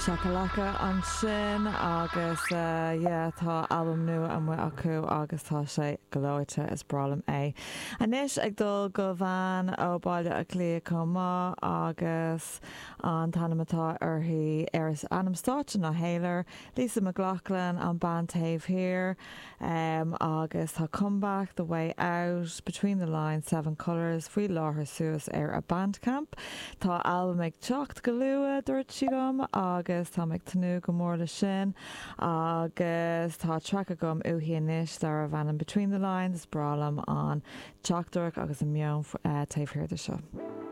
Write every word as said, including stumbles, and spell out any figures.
Shakalaka ansin agus uh, yeah, tá albam nua amuigh acu agus tá sé gleoite is breá liom é. Anois ag dul go bhean ó Baile Átha Cliath chomh maith agus an t-ainm atá uirthi ar is ainm stáitse ná Hayler, Lisa McLaughlin an bean taobh thiar um, agus tá comeback the way out between the lines seven colors faoi láthair suas ar a Bandcamp. Tá albam ag teacht go luath dúirt sí liom agus tá ag tnúth go mór le sin agus tá track agam uaithi anois darb ainm Between the Lines breá liom an teachtaireacht agus an meon uh, taobh thiar de seo.